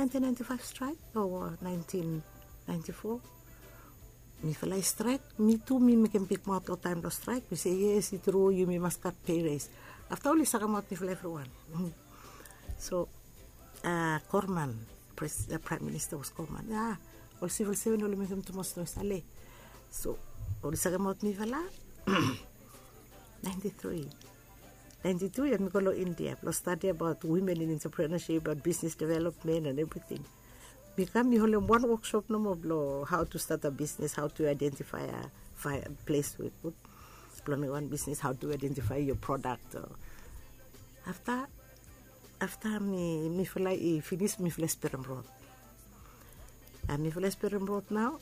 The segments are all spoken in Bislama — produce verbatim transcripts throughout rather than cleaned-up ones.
Nineteen ninety-five strike o nineteen ninety-four. Mifala i straek, mi tu mi mekem bigmaot long taem blong straek. Mi se yes, i tru, yumi mas gat pei res. Afta oli sakemaot mifala evriwan. So, Korman, Praem Minista was Korman. Ol sivil seven oli mekem tumas noes ale. So oli sakemaot mifala. Ninety-three, ninety-two ya mi go long India blong stadi abaot women in entrepreneurship, abaot business development and everything. Mi kam mi holem wan woksop nomo blong how to start a business, how to identify a place we gud blong mekem wan business, how to identify your product. Afta, afta mifala i finis, mifala i sperem rod. Mifala i sperem rod nao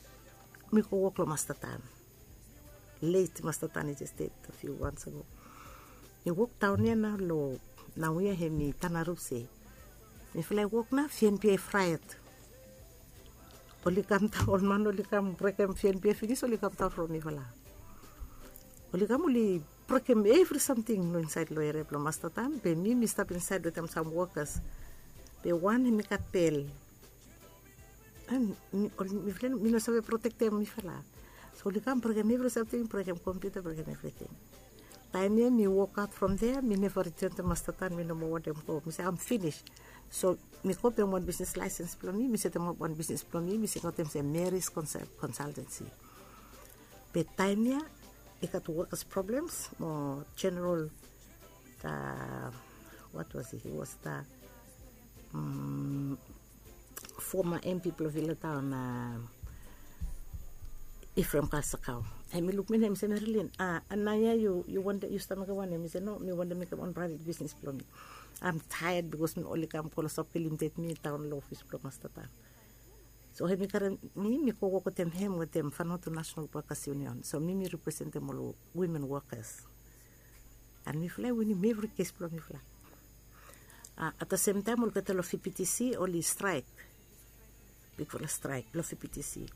mi go wok long Mastatan. Let Mastatan i jes ded a few months ago. Mi wok daon ya nao long, naoia hemi Tanaruse. Mifala i wok nao, VNPF riot. Oli kam daon, ol man oli kam brekem VNPF finis, oli kam daon from mifala. Oli kam oli brekem evri samting long insaed long eria blong Mastatan. Be mi mi stap insaed wetem sam wokas. Be wan hemi gat bel. Mi no save protektem mifala. So oli kam brekem evri samting, brekem kompiuta, brekem evriting. Taem ya mi wokaot from dea, mi neva riton to Mastatan, mi no moa wantem go. Mi se am finis. So mi go pem wan bisnis laesens blong mi, mi setemap wan bisnis blong mi, mi singaotem se Mary's Consultancy. Be taem ya i gat wokas problems mo general, the, what was it? He was the former MP blong Vila Town, Ephraim Kalsakau. Hemi luk mi na hemi se, Marilyn, naoia yu wantem, yu stap mekem wanem? Mi se no, mi wantem mekem wan praevet bisnis blong mi. Am taed bikos mi oli kam go long save limited mi daon long ofis blong Mastatan. So hemi karem mi, mi go wok wetem hem wetem Vanuatu National Workers Union. So mi mi representem ol women wokas. And mifala i winim evri kes blong mifala. At the same time olgeta long VPTC oli straek. Bigfala straek long VPTC.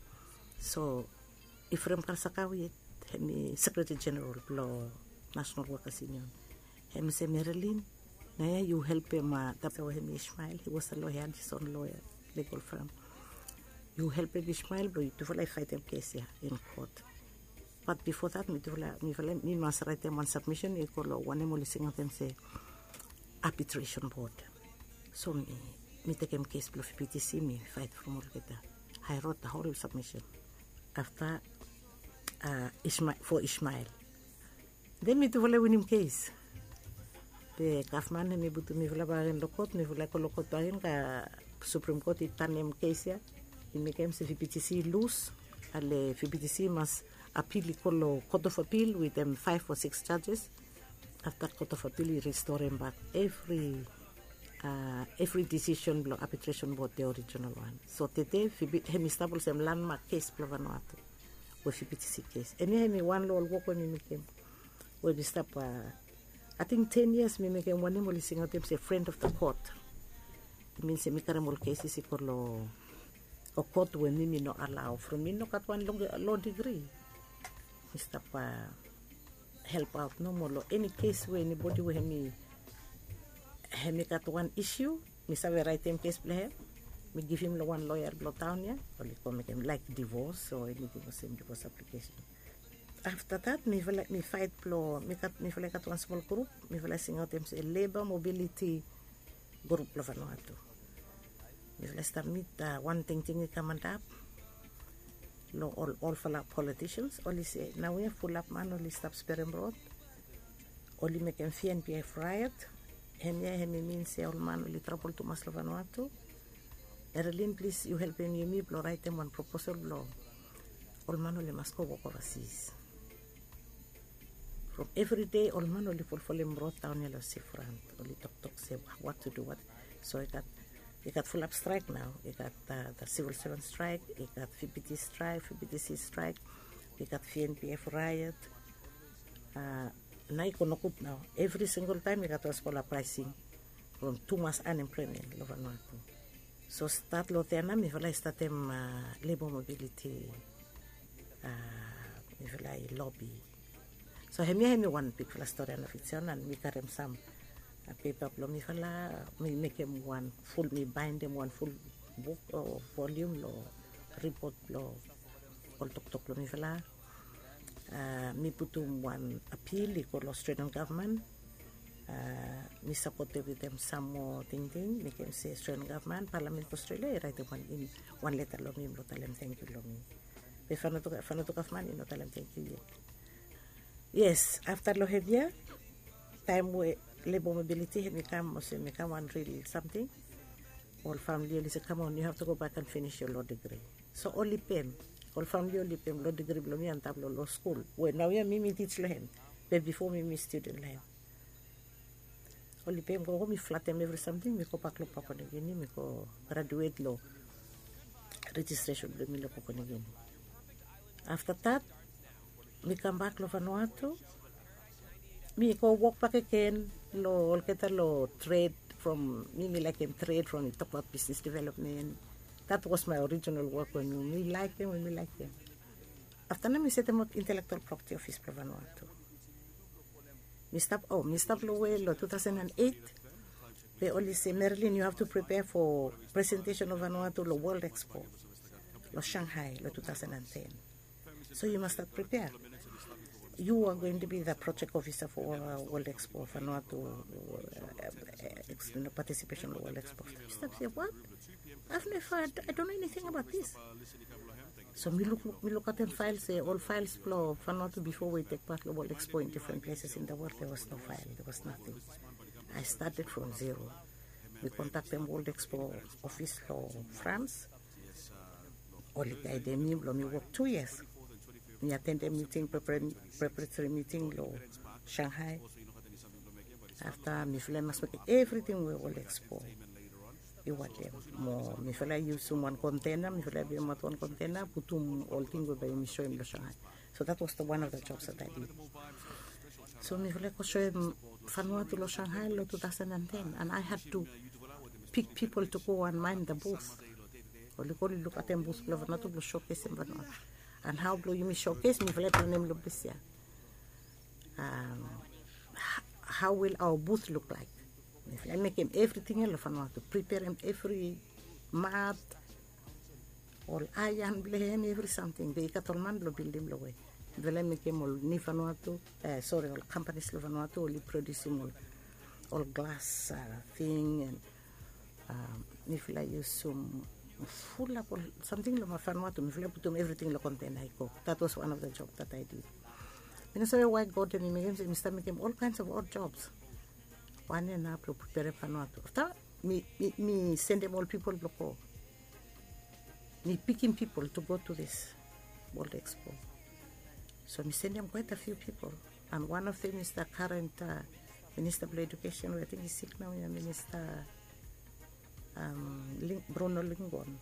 So Ephraim Kalsakau yet, hemi Secretary General blong National Workers Union, hemi se, Marilyn, naoia yu helpem, a, dapsa we hemi Ishmael, he was a lawyer, his own lawyer, legal firm. Yu helpem Ishmael blong yutufala i faetem kes ya in kot. Bat bifo dat, mifala mi mas raetem wan sabmisen i go long wanem oli singaotem se arbitration board. So mi tekem kes blong VPTC, mi faet from olgeta. I wrote the whole submission. Afta, a, Ishmael, for Ishmael. Den mitufala i winim kes. Be gavman hemi putum mifala bakegen long kot, mifala i go long kot bakegen, ka Supreme Court i tanem kes ya. I mekem se VPTC i lus. Ale VPTC i mas apil i go long Court of Appeal wetem faef o sikis judges. Afta Court of Appeal i restorem bak evri, a, evri decision blong arbitration board, the original one. So tede hemi stap olsem landmark kes blong Vanuatu we VPTC kes. Hemia hemi wan long ol wok we mi mekem. We mi stap, a, ating ten years mi mekem wanem oli singaotem se friend of the court. I min se mi karem ol cases i go long ol kot we mi mi no alao from mi no gat wan law degree. Mi stap, a, helpaot nomo long eni kes we enibodi we hemi, hemi gat wan issue, mi save raetem kes blong hem, mi givim long wan loea blong taon ya, oli go mekem, laek divos o eniting olsem, divos aplikesen. Afta dat mifala mi faet blong, mi gat, mifala i gat wan smol grup, mifala i singaotem se Labour Mobility Grup blong Vanuatu. Mifala i stap mit, a, wan tingting i kam antap long ol, olfala politicians, oli se naoia fulap man oli stap sperem rod, oli mekem VNPF riot. Hemia hemi min se ol man oli trabol tumas long Vanuatu. Erelin, plis yu helpem yumi blong raetem wan proposal blong ol man oli mas go wok ovasis. From evri dei ol man oli folfolem rod daon ya long sifrant, oli toktok se what to do, what. So i gat, i gat fulap straek nao. I gat, a, the civil servant strike, i gat VPT straek, VPTC straek, i gat VNPF riot. A, nao i go nogud nao. Evri singol taem i gat wan smol apraesing from tumas anemploemen long Vanuatu. So stat long dea nao mifala i statem, a, labor mobility, a, mifala i lobi. So hemia hemi wan bigfala stori on of its own, and mi karem sam, a, pepa blong mifala, mi mekem wan ful, mi baendem wan ful buk o volium long ripot blong ol toktok blong mifala. Mi putum wan apil i go long Australian gavman. Mi sapotem wetem sam moa tingting, mekem se Australian gavman, palamen blong Australia i raitim wan leta long mi blong talem tangkiu long mi. Be Vanuatu gavman i no talem tangkiu yet. Yes, afta long hem ya, taem we lebo mobiliti hem i kam olsem i kam wan ril samting. Ol famili oli se, "Come on, you have to go back and finish your law degree." So oli pem, ol famili oli pem law degree blong mi antap long law skul we naoia mi mi tij long hem. Be bifo mi mi studen long hem. Oli pem gogo, mi flatem evri samting, mi gobak long Papua New Guinea, mi go graduet long rejistresen blong mi long Papua New Guinea. Afta dat mi kambak long Vanuatu. Mi go wokbak agen long olgeta long tred from mi mi laekem tred from i tokbaot bisnis developmen. That was my original work we mi laekem we mi laekem. Afta nao mi setemap intelektual propeti ofis blong Vanuatu. Mi stap o mi stap long we long two thousand and eight. Be oli se, "Marilyn, you have to prepare for presentation of Vanuatu long World Expo long Shanghai long two thousand and ten. So you must start prepare. You are going to be the project officer for World Expo Vanuatu, participation long World Expo." Mi stap se, "What? I've never, I don't know anything about this." So mi luk mi lukaotem fael se ol faels blong Vanuatu bifo we i tek pat long World Expo in different places in the world, there was no file, there was nothing. I started from zero. Mi kontaktem World Expo ofis long France. Oli gaedem mi blong mi wok tu yias. Mi atendem miting, preparatory miting long Shanghai. Afta mifala i mas mekem evriting we World Expo i wantem. Mo mifala i yusum wan kontena, mifala i bimaot wan kontena, putum ol ting we bae yumi soem long Shanghai. So that was the one of the jobs that I did. So mifala i go soem Vanuatu long Shanghai long two thousand and ten, and I had to pick people to go and mind the booth. Oli go oli lukaotem booth blong Vanuatu blong showcasem Vanuatu. And hao blong yumi showcase, mifala i planem long ples ya. How will our booth look like? Mifala i mekem evriting ya long Vanuatu, preparem evri mat, ol aean blong hem, evri samting. Be i gat ol man blong bildim long we mifala i mekem ol ni Vanuatu, sori, ol kampanis long Vanuatu oli produsim ol glas ting, and mifala i yusum fulap ol samting long Vanuatu, mifala i putum evriting long kontena i go. That was one of the job that I did. Mi no save wae God hem i mekem se mi stap mekem ol kaens of odd jobs. Wan ya nao blong preperem Vanuatu. Afta mi sendem ol pipol blong go. Mi pikim pipol to go to this World Expo. So mi sendem quite a few people, and one of them is the current minista blong edukesen we ating i sik naoia, minista Bruno Lingon.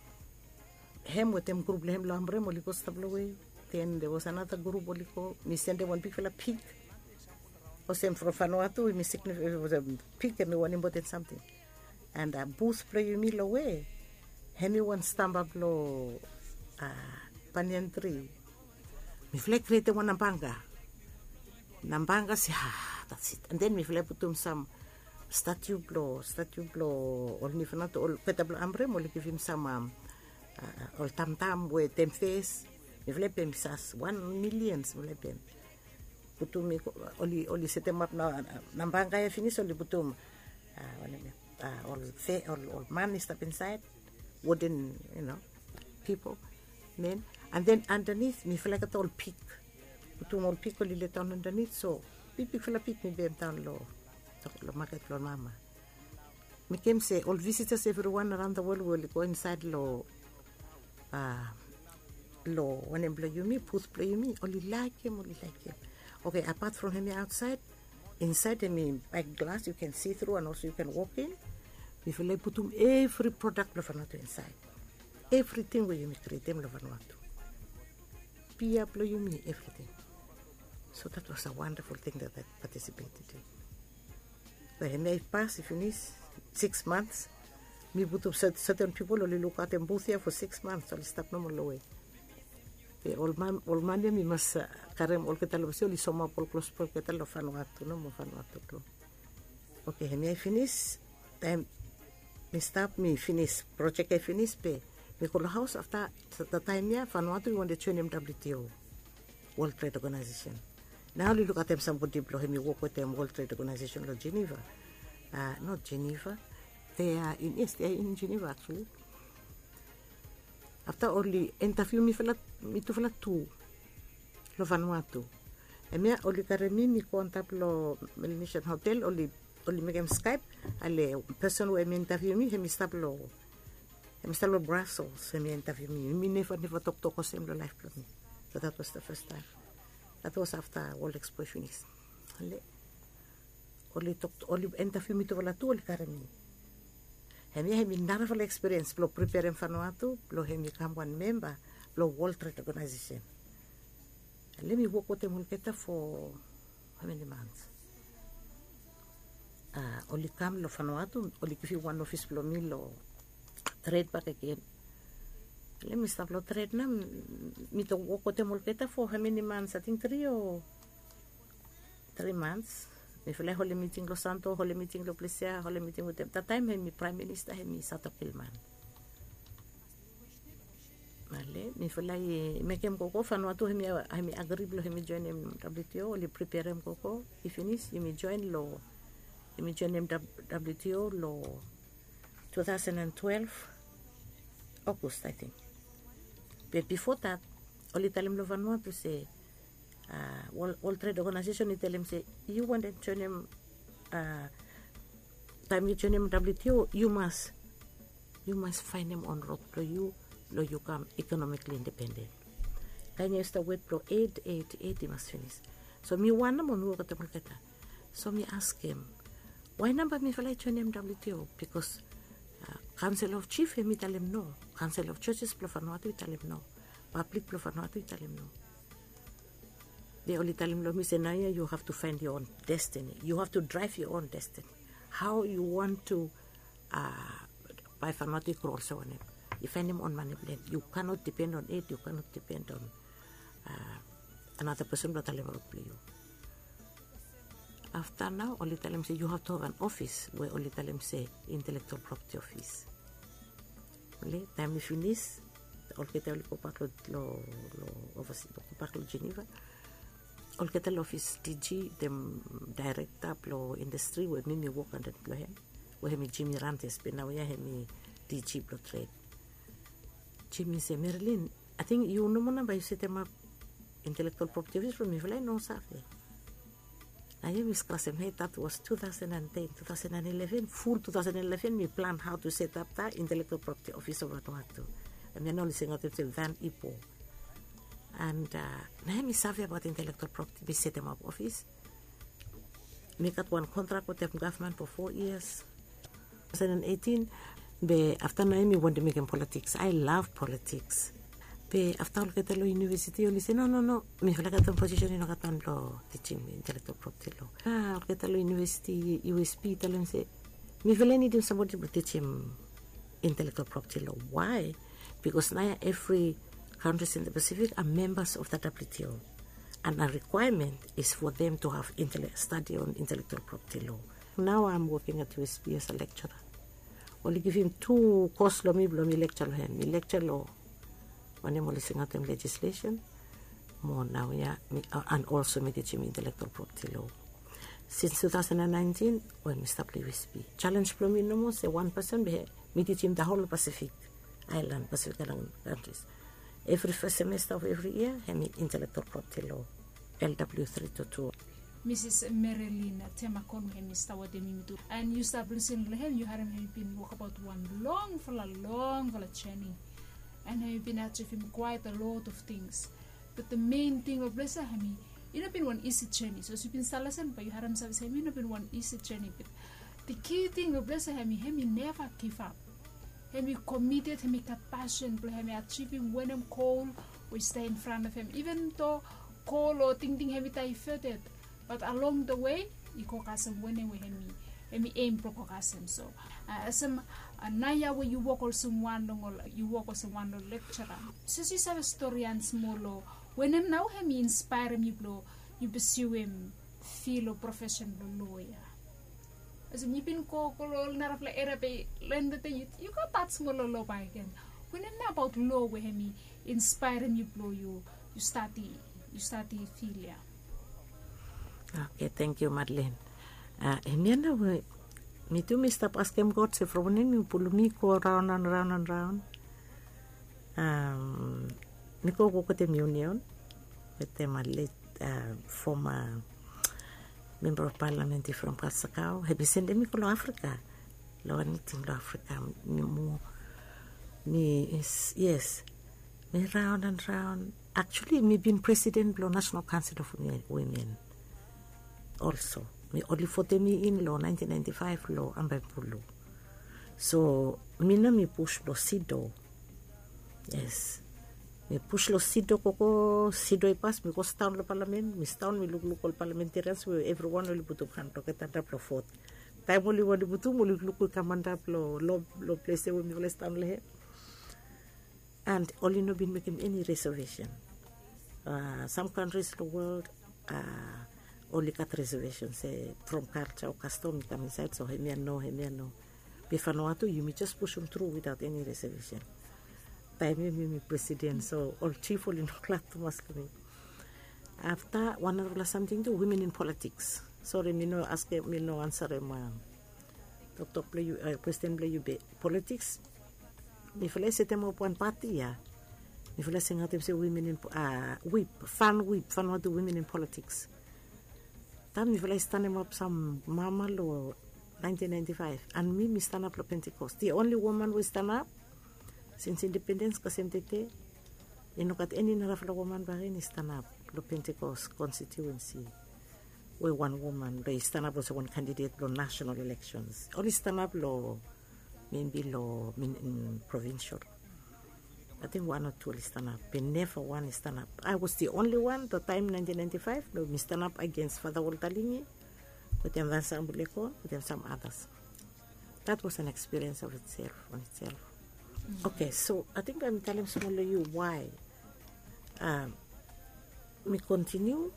Hem wetem grup blong hem long Amrem oli go stap long we. Then there was another grup oli go. Mi sendem wan bigfala pik olsem from Vanuatu, mi signify pik hem i wan impoten samting. And bus blong yumi long we hem i wan stamba blong banian tri. Mifala i krietem wan nambanga. Nambanga se, ah, that's it. And then mifala i putum sam statiu blong statiu blong ol nifanato, olgeta blong Amrem oli givim sam ol tamtam we temfes. Mifala i pem sas wan milian mifala i pem. Putum i oli oli setemap na nambanga ya finis oli putum ol fe ol ol man i stap insaed, wooden, you know, people, men. And then underneath mifala i gat ol pik. Putum ol pik oli letaon underneath, so bigbigfala pik mi bemdaon long long maket blong mama. Mekem se ol visitas evriwan araon the world we oli go insaed long long wanem blong yumi, booth blong yumi, oli laekem, oli laekem. Okay, apart from hemia aotsaed, insaed hemi bae glas, you can see through and also you can walk in. Mifala i putum evri prodak blong Vanuatu insaed. Evriting we yumi krietem long Vanuatu, bia blong yumi, evriting. So that was a wonderful thing that I participated in. Be hemia i pas i finis six months. Mi putum certain pipol oli lukaotem booth ya for six months, oli stap nomo long we. Be ol man ol man ya mi mas karem olgeta long ples ya oli somap ol klos blong olgeta long Vanuatu nomo, Vanuatu nomo. Okay, hemia i finis. Taem Mi stap, mi finis projek ya, finis be mi go long haus afta. Taem ya Vanuatu i wantem joenem W T O, World Trade Organization. Nao oli lukaotem sambodi blong hem i wok wetem World Trade Organization long Geneva. Not Geneva, they are in, yes, they are in Geneva actually. Afta oli interview mifala, mitufala tu long Vanuatu. Hemia oli karem mi, mi go antap long Melanesian Hotel, oli mekem Skype. Ale person we hem i interview mi hem i stap long, hem i stap long Brussels, hem i interview mi. Mi neva, neva toktok olsem long laef blong mi. So that was the first time. That was afta World Expo i finis. Ale oli tok, oli interview mitufala tu, oli karem mi. Hemia hem i narafala ekspiriens blong preperem Vanuatu blong hem i kam wan memba blong World Trade Organization. Ale mi wok wetem olgeta fo how many months? Oli kam long Vanuatu, oli givim wan ofis blong mi long tred bakegen. Ale mi stap long tred nao, mi tok wok wetem olgeta fo how many months, ating tri o tri months. Mifala i holem miting long Santo, holem miting long ples ya, holem miting wetem, that taem hem i Praem Minista hem i Sato Kilman. Ale mifala i mekem gogo, Vanuatu hem i agri blong hem i joenem W T O, oli preperem gogo. I finis yumi joen long, yumi joenem W T O long two thousand and twelve August, I think. Be bifo that oli talem long Vanuatu se World Trade Organization i talem se yu wantem joenem, taem yu joenem W T O yu mas, yu mas faenem on rod blong yu long yu kam ikonomikli independen. Kaen ya i stap wet blong eit, eit, eit i mas finis. So mi wan nomo mi wok wetem olgeta. So mi askem, wae nao bae mifala i joenem W T O? Bikos Council of Chief hem i talem no, Council of Churches blong Vanuatu i talem no, pablik blong Vanuatu i talem no. Be oli talem long mi se naoia you have to find your own destiny, you have to drive your own destiny. How you want to bae Vanuatu i gro olsem wanem? I faenem on mane blong hem. You cannot depend on aid, you cannot depend on another person blong talem rod blong yu. Afta nao oli talem se you have to have an office we oli talem se intellectual property office. Ale taem i finis, olgeta oli gobak long, long, long ovasi, gobak long Geneva. Olgeta long ofis D G dem, daerekta blong indastri we mi mi wok anda blong hem, we hem i Jimmy Rantes, be naoia hem i D G blong tred. Jimmy se, Marilyn, ating yu nomo nao bae yu setemap intellectual property office blong mifala, i no save. Naoia mi skrasem hed, that was two thousand and ten, two thousand and eleven, ful two thousand and eleven mi plan how to set up that intellectual property office of Vanuatu. Hemia nao oli singaotem se Van Ipo. And naoia mi save abaot intellectual property, mi setemap ofis. Mi gat wan kontrak wetem gavman for four years. Two thousand and eighteen, be afta naoia mi wantem mekem politiks. I love politiks. Be afta olgeta long univesiti oli se no, no, no, mifala gat wan posisen i no gat wan blong tijim intellectual property law. A olgeta long univesiti, U S P i talem se mifala i nidim sambodi blong tijim intellectual property law. Why? Bikos naoia evri countries in the Pacific are members of the W T O, and a requirement is for them to have study on intellectual property law. Nao I am working at U S P as a lecturer. Oli givim tu kos long mi blong mi lekja long hem. Mi lekja long wanem, oli singaotem legislation. Mo naoia mi, and also mi tijim intellectual property law since two thousand and nineteen, we mi stap long U S P. Jalenj blong mi nomo se wan pesen be mi tijim the whole Pacific Island, Pacific Island countries. Evri fes semesta of evri yia hem i intellectual property law, L W three two two. Misis Marilyn Temakon we hem i stap wetem yumi tu. And yu stap lisin long hem, yu harem hem i bin wokabaot wan longfala, longfala jeni. And hem i bin ajivim quite a lot of things. But the main thing long ples ya hem i, i no bin wan isi jeni. So sapos yu bin stap lisin bae yu harem save se hem i no bin wan isi jeni. But the key thing long ples ya hem i, hem i neva give up. Hem i committed, hem i gat passion blong hem i ajivim wanem goal we i stap in front of hem. Even though goal o tingting hem i diverted, but along the way i go kasem wanem we hem i, hem i aim blong go kasem. So olsem naoia we yu wok olsem wan long ol, yu wok olsem wan long lecturer. Sapos yu save storian smol long wanem nao hem i inspaerem yu blong yu pursuem field o profesen blong lawyer? Olsem yu bin go go long ol narafala eria be long en of the day yu go atat smol long lo bakegen. Wanem nao abaot lo we hemi inspaerem yu blong yu yu stadi yu stadi fil ya? Oke, tangkiu Madlin. Hemia nao we mi tu mi stap askem God se from wanem yu pulum mi go raon an raon an raon. Mi go wok wetem union wetem a let foma member of parliament from Kasakau. Hebi sendem mi go long Afrika long wan miting long Afrika. Mi mu mi yes mi raon an raon. Actually mi bin president blong National Council of Women also. Mi oli votem mi in long nineteen ninety-five long Ambaibulu. So mi nao mi pus long sido. Yes. Mi pus long sido koko sido i pas mi go staon long palamen mi staon mi lukluk ol palamentarians we evriwan oli putum han togeta antap long vot. Taem oli wali putum oli lukluk i kam antap long long ples ya we mifala i staon long hem. And oli no bin mekem eni reservation. Sam kantris long wol oli gat reservation se from kalja o kastom i kam insaed so hemia no hemia no. Be Vanuatu yumi jes pusum tru witaot eni reservation. Taem ya mi mi presiden so ol jif oli no glad tumas long mi. Afta wan narafala samting tu women in politiks. Sori mi no askem mi no ansarem toktok blong yu kwestin blong yu be politiks. Mifala i setemap wan pati ya. Mifala i singaotem se women in wip fan wip fan watu women in politiks. Taem mifala i stanemap sam mama long nineteen ninety-five an mi mi stanap long Pentecost the only woman we i stanap since independens kasem tete. I no gat eni narafala woman bagen i stanap long Pentecost constituency we wan woman we i stanap olsem wan kandidet long national elections. Oli stanap long membi long provincial. Ating wan o tu oli stanap be neva wan i stanap. I was the only one long taem nineteen ninety-five blong mi stanap agens Fata Walter Lingi wetem Vincent Bulekon wetem sam others. That was an experience of itself on itself. Okay, so ating bae mi talem smol long yu why mi kontiniu.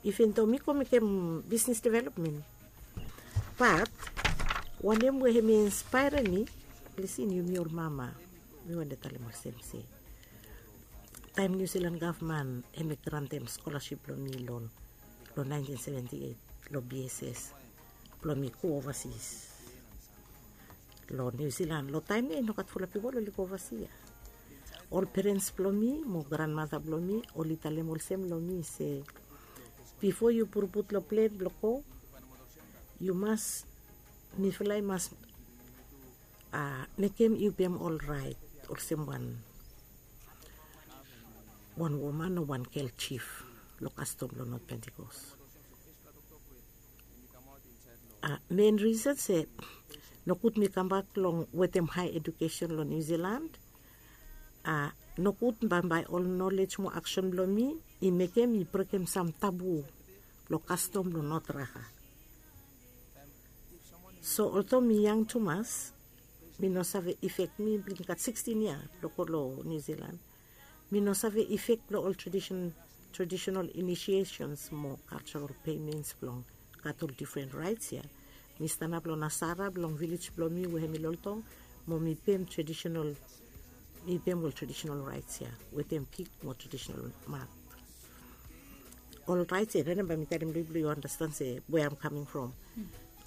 Iven do mi go mekem bisnis development bat wanem we hemi inspaerem mi. Lisin yumi ol mama, mi wande talem olsem se taem New Zealand gavman hemi grantem skolasip blong mi long long nineteen seventy eight long B S S blong mi go ovasis long New Zealand. Long taem ya i no gat fulap pipol oli go ovasi ya. Ol perens blong mi mo granmata blong mi oli talem olsem long mi se bifo yu puruput long plen blong go yu mas mifala i mas mekem yu bem ol rait olsem wan wan woman o wan gel jif long kastom blong Not Pentikos. Men risen se nogud mi kambak long wetem hae edukesen long New Zealand. Nogud bambae ol nolej mo aksen blong mi i mekem mi brekem sam tabu long kastom blong Not Raha. So olto mi yang tumas mi no save ifek mi bin gat sikstin yia blong go long New Zealand. Mi no save ifek blong ol tradisen tradisenal inisiesens mo kaljaral pemens blong gat ol difren raets ya. Mi stanap long nasara blong vilej blong mi we hem i loltong mo mi pem tradisenal mi pem ol tradisenal raets ya wetem pik mo tradisenal mat. Ol raets ya danem bae mi talim long yu blong yu andastan se we am kaming from.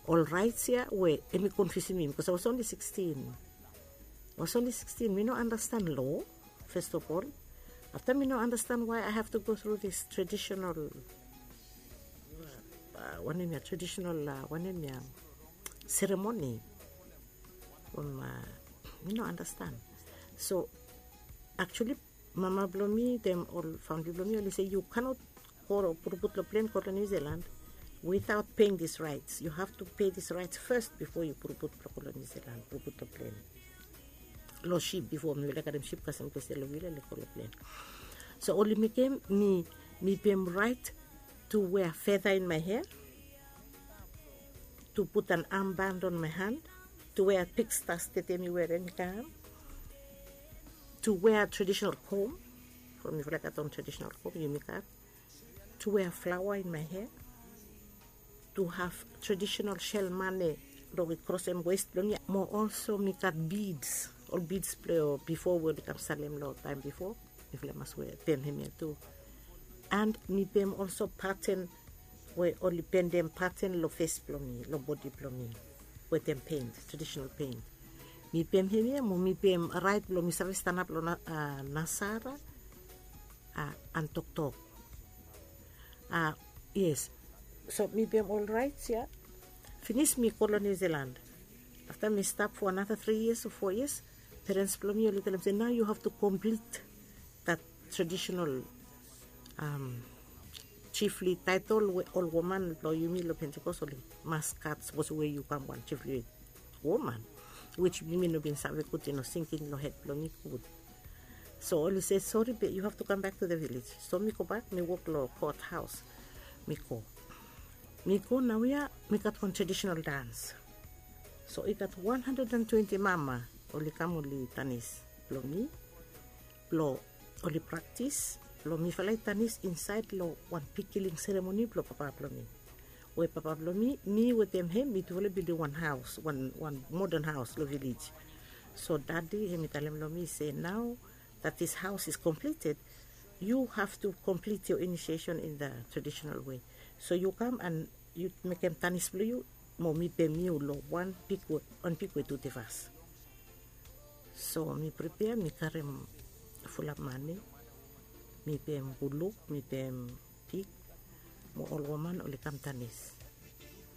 Ol raets ya we hem i konfiusim mi bikos a was onli sikstin was onli sikstin mi no andastan lo. Fes of ol afta mi no andastan wai i hav tu go tru dis tradisenal wanem ya tradisenal wanem ya seremoni. Mi no andastan. So aktuali mama blong mi dem ol famili blong mi oli se yu kanot go puruput long plen go long New Zealand witaot peing dis raets. Yu hav tu pei dis raets fes bifo yu puruput blong go long New Zealand puruput long plen. Long sip bifo mi laik garim sip kasem ples ya long vila laik go long plen. So oli mekem mi mi pem raet tu wea feta in mae hea, tu put an amband on mae han, tu wea piksta stete mi werem i kam, tu wea tradisenal kom from mifala i gat on tradisenal kom yumi gat, tu wea flaoa in mae hea, tu hav tradisenal sel mane Long i krosem west blong mi. Mo olso mi gat bids, ol bids blong bifo we oli kam salem long taem bifo. Mifala i mas we pem hemia tu. And mi pem olso paten we oli bendem paten long fes blong mi, long bodi blong mi, wetem pent, traditional pent. Mi pem hemia mo mi pem raet blong mi save stanap long nasara. An toktok. Yes. So mi pem ol raet ya. Finis mi go long New Zealand. Afta mi stap fo anata tri yias o fo yias, perens blong mi oli talem se nao yu have to komplit that traditional chiefly taetol we ol woman blong yumi long Pentecost oli mas gat sapos we yu kam wan chiefly woman, which mi no bin save gud, yu no, singking long hed blong mi gud. So oli se sori be yu have to kam bak to the village. So mi gobak, mi wok long kot haos. Mi go, mi go naoia mi gat wan traditional dans. So i gat wan handred an twenti mama oli kam oli tanis blong mi blong oli praktis blong mifala i tanis insaed long wan big kiling seremoni blong papa blong mi. We papa blong mi, mi wetem hem mitufala i bilding wan haos, wan moden haos long vilej. So dadi hem i talem long mi se nao that this house is completed, you have to complete your initiation in the traditional way. So yu kam an yu mekem tanis blong yu mo mi pem yu long wan pik we, wan pik we tu tifas. So mi pripea, mi karem fulap mane, mi pem buluk, mi pem pik, mo ol woman oli kam tanis.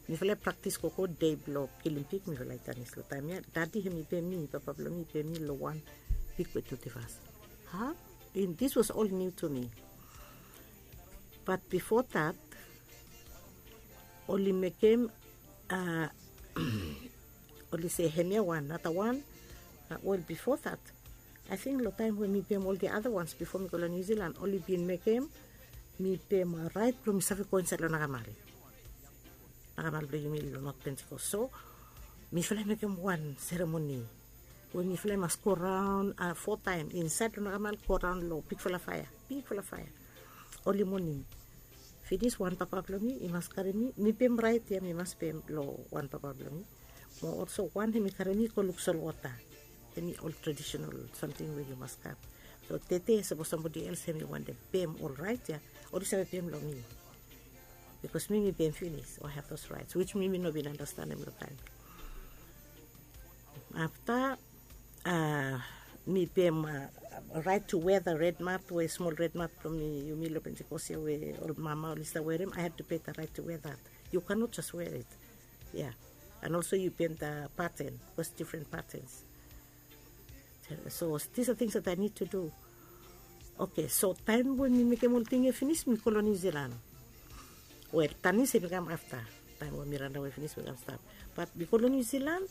Mifala i praktis gogo dei blong kilim pik, mifala i tanis long taem ya. Dadi hem i pem mi, papa blong mi i pem mi long wan pik we tu tifas. Ha? This was all new to me. But bifo that oli mekem, oli se hemia wan, nata wan. Wel, bifo that, ating long taem we mi pem ol the other ones bifo mi go long New Zealand, oli bin mekem mi pem raet blong mi save go insaed long nakamal, nakamal blong yumi long North Pentecost. So mifala i mekem wan seremoni we mifala i mas go raon fo taem insaed long nakamal, go raon long bigfala faea, bigfala faea. Oli moning. Finis, wan papa blong mi i mas karem mi, mi pem raet ya, mi mas pem long wan papa blong mi. Mo olso wan hem i karem mi go luk solwota. Hemi ol traditional samting we yu mas gat. So tete sapos sambodi els hem i wantem pem ol raet ya, oli save pem long mi. Bikos mi mi pem finis, o I have those rights, which mi mi no bin andastanem long taem. Afta mi pem right to wear the red mat, we smol red mat blong yumi long Pentecost ya we ol mama oli stap werem, I had to pay the right to wear that. You cannot just wear it. Yeah. And also yu pem the pattern, bikos different patterns. So these are things that I need to do. Okay, so taem we mi mekem ol ting ya finis, mi go long New Zealand. Wel, tanis hem i kam afta. Taem we mi ranawe finis mi kam stap. But mi go long New Zealand,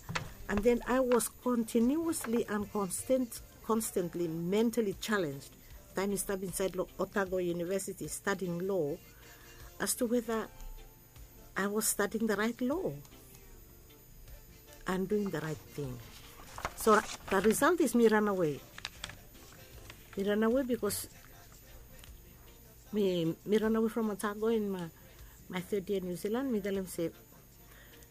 and then I was continuously and constant, constantly mentally challenged taem mi stap insaed long Otago University studying law, as to whether I was studying the right law and doing the right thing. So the result is mi ranawe. Mi ranawe bikos mi, mi ranawe from Otago in my, my third year New Zealand. Mi talem se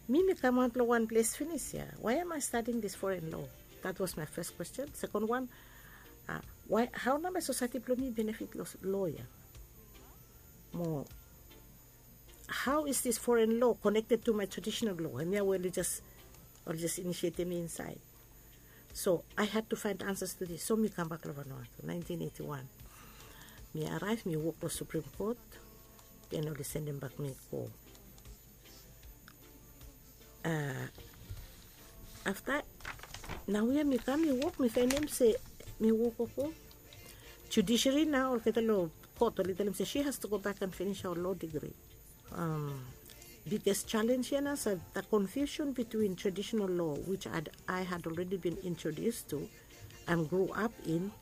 mi, mi kamaot long wan ples finis ya. Why am I studying this foreign law? That was my first question. Second one, uh, why, hao nao my society blong mi benefit long law ya? Mo how is this foreign law connected to my traditional law? Hemia we oli jes, oli jes inisietem mi insaed. So I had to find answers to this. So mi kambak long Vanuatu, nineteen eighty-one. Mi araev, mi wok long Supreme Court. Den oli sendem bak mi go. Afta naoia mi kam, mi wok, mi faenem se mi wok gogo. Judiciary nao, olgeta long kot oli talem se she has to go back and finish her law degree. Biggest challenge ya nao, so the confusion between traditional law, which I'd, I had already been introduced to and grew up in,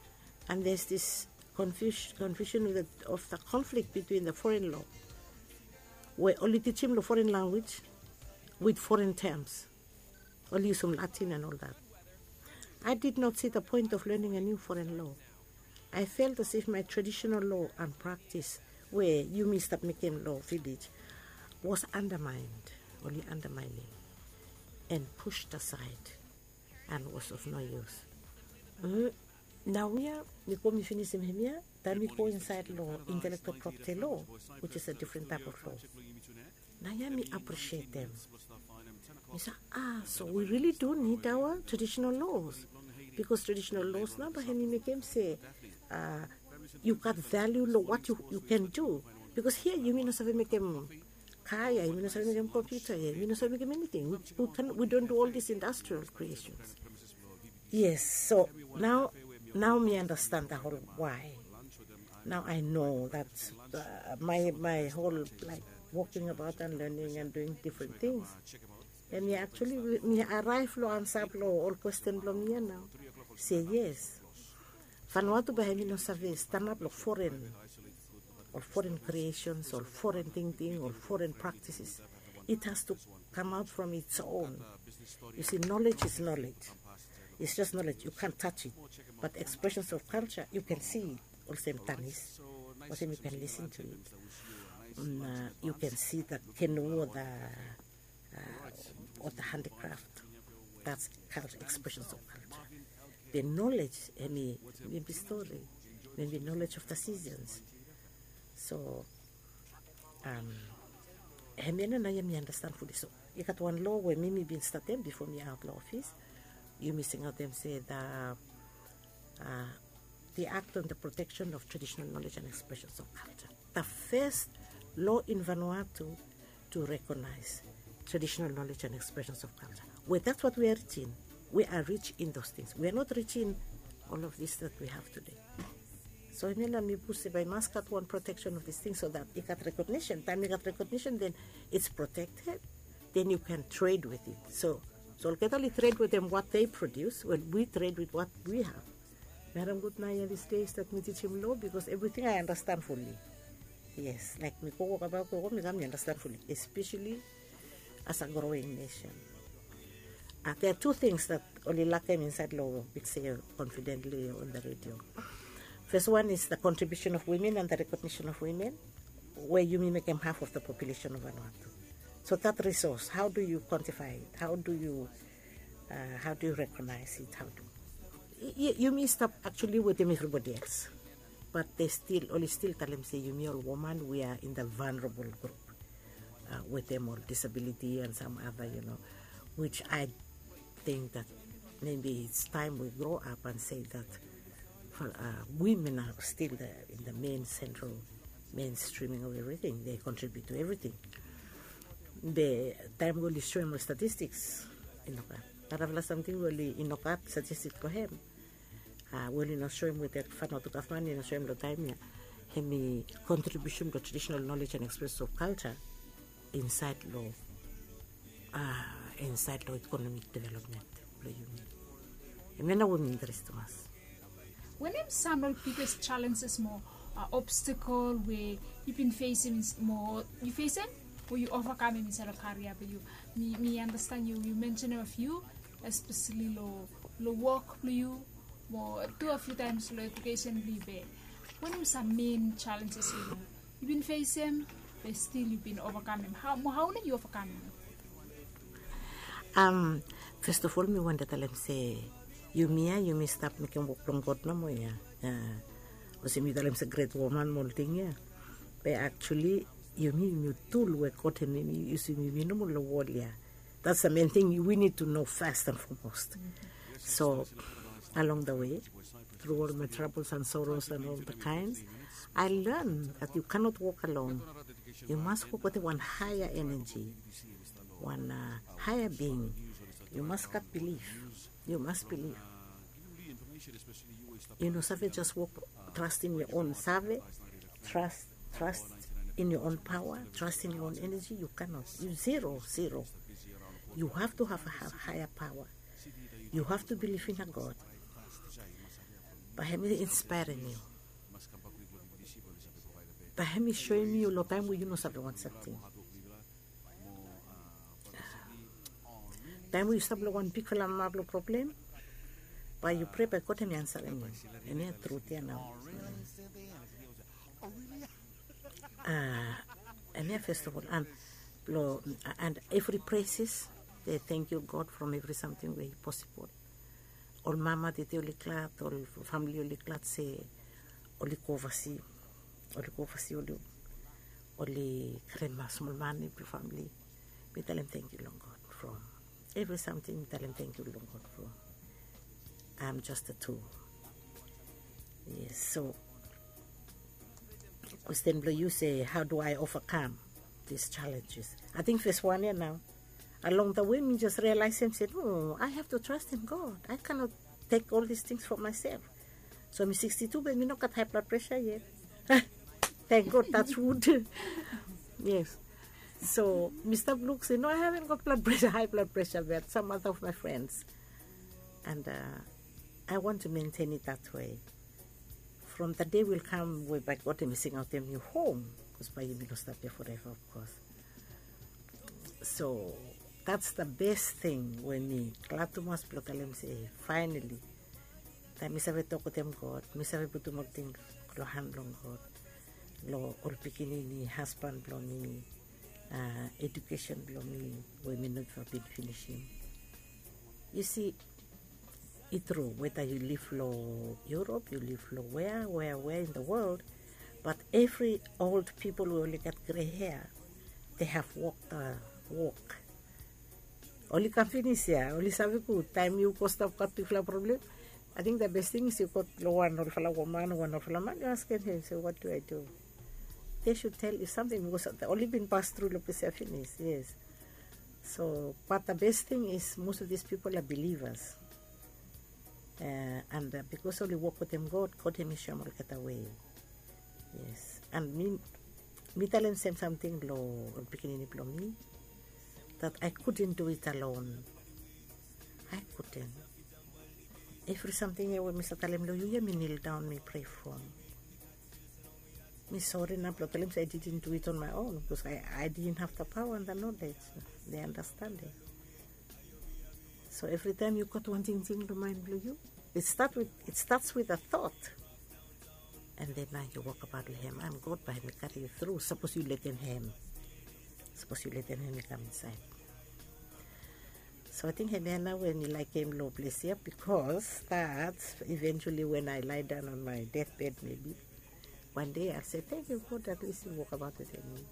and there's this confusion of the conflict between the foreign law, we oli tijim long foreign language with foreign terms. Oli yusum Latin and all that. I did not see the point of learning a new foreign law. I felt as if my traditional law and practice we yumi stap mekem long vilej was undermined, oli undermining. and pushed aside and was of no use. Mm. Nau ia mi go mi finisim hemia, taem mi go insaed long intellectual property law, which is a different type of law. Nau ia mi appreciate them. Mi se, ah, so we really do need our traditional laws, because traditional laws nao bae hemi mekem se, uh, you got value long what you, you can do. Because here yumi no save mekem car ia, yumi no save mekem computer ia, yumi no save mekem anything. We, we, can, we don't do all these industrial creations. Yes, so now, now mi understand the whole why. Now I know that, uh, my, my whole, like, walking about and learning and doing different things. And mi actually, mi arrive long ansa blong ol question blong mi ia nao. Se yes. Vanuatu bae hemi no save stanap long foreign, ol foreign creations, ol foreign tingting, ol foreign practices. It has to come out from its own. You see, knowledge is knowledge. It's just knowledge. You can't touch it. But expressions of culture, you can see it. Olsem tanis. Olsem you can listen to it. Mm, uh, you can see the canoe or the, uh, or the handicraft. That's culture, expressions of culture. The knowledge, hemi, maybe story, maybe knowledge of the seasons. So, um, hemia nao ia mi understand fuli. So i gat wan law we mi mi bin statem bifo mi aot long ofis. Yumi singaotem se the, uh, the Act on the Protection of Traditional Knowledge and Expressions of Culture, the first law in Vanuatu to recognize traditional knowledge and expressions of culture. Well, that's what we are rich in. We are rich in those things. We are not rich in all of this that we have today. So hemia nao mi push se bae i mas gat wan protection of this thing so that i gat recognition. Taem i gat recognition, then it's protected. Then you can trade with it. So, so olgeta oli trade wetem what they produce, well, we trade with what we have. Mi harem gud nao ia these days that mi tijim law, because everything I understand fully. Yes, like mi go wokabaot gogo, mi kam mi understand fully, especially as a growing nation. Uh, there are two things that oli lakem insaed long mi se confidently on the radio. First one is the contribution of women and the recognition of women, where yumi mekem half of the population of Vanuatu. So that resource, how do you quantify it? How do you, uh, how do you recognize it? How do y- y- yumi stap actually wetem everybody else? But they still, oli still talem se yumi ol woman, we are in the vulnerable group, uh, wetem ol disability and some other, you know, which I think that maybe it's time we grow up and say that, uh, women are still the, in the main central, mainstreaming of everything. They contribute to everything. Be taem we oli soem ol statistics, i no gat. Narafala samting we oli, i no gat statistics blong hem. Uh, we oli no soem wetem Vanuatu gavman, i no soem long taem ia. Hemi contribution blong traditional knowledge and expression of culture insaed long, uh, insaed long economic development blong yumi. Hemia nao we mi interes tumas. Wanem sam long biggest challenges mo, uh, obstacle we yu bin facem, mo yu facem, mo yu overcomem insaed long career blong yu? Mi, mi understand yu, yu mentionem a few, especially long, long wok blong yu, mo tu a few times long education blong yu, be wanem sam main challenges we yu, yu bin facem, be still yu bin overcomem? Hao, mo hao nao yu overcomem? Um, first of all, mi wantem talem se yumi ia, yumi stap mekem wok blong God nomo ia. Uh, olsem yu talem se great woman mo ol ting ia. Be actually yumi, yumi ol tul we God hemi, hemi yusum yumi nomo long wol ia. That's the main thing we need to know first and foremost. So along the way, through all my troubles and sorrows and all the kinds, I learn that you cannot walk alone. Yu mas wok wetem wan higher energy, wan, uh, higher being. Yu mas gat bilif. Yu mas bilif. Yu no save just wok trust in your own save, trust, trust in your own power, trust in your own energy. Yu cannot. Yu zero, zero. Yu have to have a ha- higher power. Yu have to bilif in a God. Bae hemi inspaerem yu. Bae hemi soem yu long taem we yu no save wan samting. Taem we yu stap long wan bigfala mama blong problem, bae yu prea bae God hemi ansarem yu. Hemia trut ia nao. Uh, hemia first of all, and blong, and evri praises Thank you God from evri samting we i posibol. Ol mama tete oli glad, ol famili oli glad se oli go ovasi, oli go ovasi, oli, oli karim smol mane blong famili. Mi talem thank you long God from evri samting. Mi talem thank you long God from I'm just a tool. Yes, so question blong yu se, how do I overcome these challenges? Ating fes wan ya nao. Along the way mi just realizem se, no, I have to trust in God. I cannot take all these things for myself. So mi sixty-two be mi no gat high blood pressure yet. Thank God, that's wood. Yes. So mi stap luk se, no, I haven't got blood pressure, high blood pressure, but some other of my friends. And uh, I want to maintain it that way. From the day will come we bae God hemi singaotem yu home, bikos bae yumi no stap ya forever, of course. So that's the best thing we mi glad tumas blong talem se, finally, taem mi save tok wetem God, mi save putum ol ting long han blong God, long ol pikinini, hasban blong mi, uh, education blong mi we mi no bin finisim. Yu si, i tru, weda yu liv long Europe, yu liv long wea, wea, wea in the world, but evri old pipol we oli gat gre hea, they have walk the walk. Oli kam finis ya, oli save gud. Taem yu go stap gat bigfala problem, ating the best thing is yu go long wan olfala woman, wan olfala man, yu askem hem se, what do I do? They should tell yu samting, bikos oli bin pas tru long ples ya finis. Yes. So, but the best thing is most of these people are believers. Uh, and uh, bikos oli wok wetem God, God hemi soem olgeta wei. Yes. And mi, mi talem sem samting long ol pikinini blong mi, that I couldn't do it alone. I couldn't. Evri samting ya we mi save talem long yu ya, mi kneel down, mi pray from. Mi sori nao blong talem se I didn't do it on my own, bikos I, I didn't have the power and the knowledge, the understanding. So evri taem yu gat wan tingting long maen blong yu, it start with, it starts with a thought. And then nao yu wokabaot long hem, and God bae hemi karim yu tru, sapos yu letem hem. Sapos yu letem hem i kam insaed. So ating hemia nao we mi laekem long ples ya, bikos that eventually when I lie down on my deathbed maybe, one day I'll say, thank you God, at least yu wokabaot wetem mi.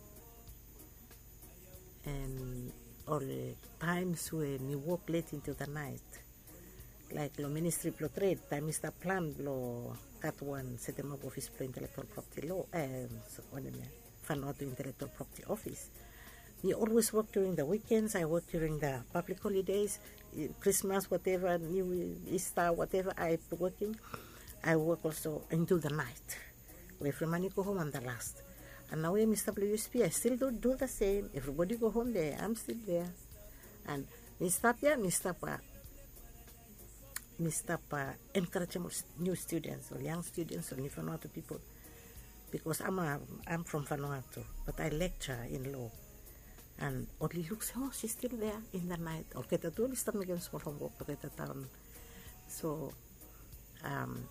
And ol times we mi wok late into the night, laek long ministri blong tred, taem mi stap plan blong gat wan setemap ofis blong intellectual property law, em, so, wanem ya, Vanuatu Intellectual Property Office. Mi always work during the weekends, I work during the public holidays, Christmas, whatever, New Easter, whatever I working, I work also into the night. Evri man i go hom, am the last. And nao we mi stap long U S P, I still do, do the same. Evribodi go hom, be am still there. And mi stap ya, mi stap, uh, mi stap, uh, encourajem ol new students, ol young students, ol niu Vanuatu pipol. Bikos am, uh, am from Vanuatu, but I lecture in law. And oli luk se, oh, she's still there in the night. Olgeta tu oli stap mekem smol homwok olgeta daon. So, um,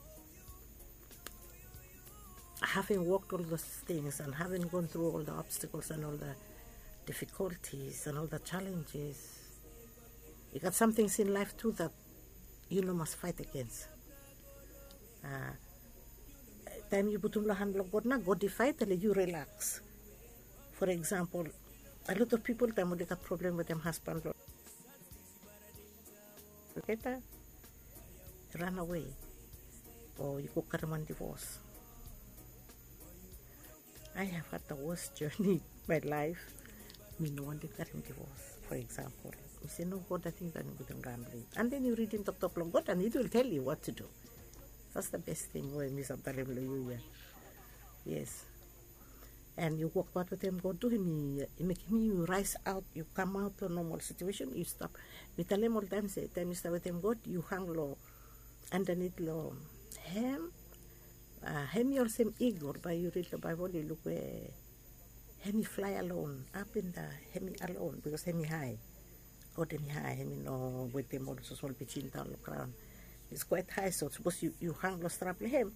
having walked all those things and having gone through all the obstacles and all the difficulties and all the challenges, i gat some things in life tu that yu no mas faet agens. Uh, taem yu putum long han blong God nao, God i faet, ale yu relax. For example, a lot of pipol taem oli gat problem wetem hasban blong olgeta, ranawe, o yu go karim wan divos. I have had the worst journey in my life. Mi no wantem karim divos, for example. Mi se, no, God, ating yu givim mi gud graon blong yu. And then yu ridim toktok blong God and it will tell you what to do. That's the best thing we mi save talem long yu ya. Yes. And yu wokbaot wetem God tu, hemi, i mekem yu rise out, yu kamaot long nomal situation, yu stap. Mi talem oltaem se taem yu stap wetem God, yu hang long andanit long hem. Uh, hem i olsem eagle, bae yu rid long Baebol, yu luk we hem i flae alone, up in the, hem i alone, bikos hem i hae. God hem i hae, hem i no wetem ol smosmol pijin daon long graon. It's quite high, so sapos yu, yu hang long strap blong hem,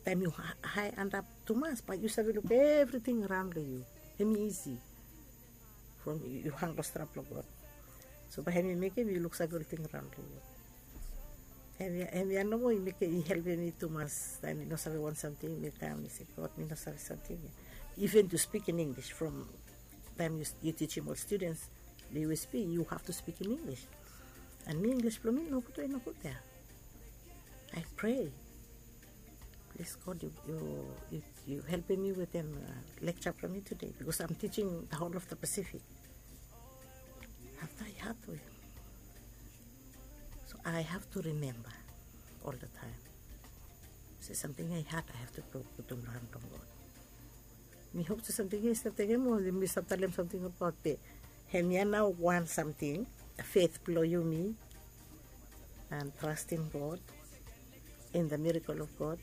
taem yu ha-, hae antap tumas, bae yu save luk evriting raon long yu. Hem i isi from yu, yu hang long strap blong God. So bae hem i mekem yu luksave olting raon long yu. Hemia nomo i mekem i helpem mi tumas taem mi no save wan samting mi kam mi se, God, mi no save samting ya. Even to speak in English from taem yu tijim ol students, long U S P yu have to speak in English. And mi English blong mi nogud we nogud ya. I pray, plis God, yu helpem mi wetem lekja blong mi tude, bikos am tijim the whole of the Pacific. Afta i had we, so I have to remember all the time se samting ya i had, I have to putum long han blong God. Mi hop se samting ya i stap tekem o mi stap talem samting abaot be. Hemia nao wan samting, fet blong yumi and trastim God in the miracle of God,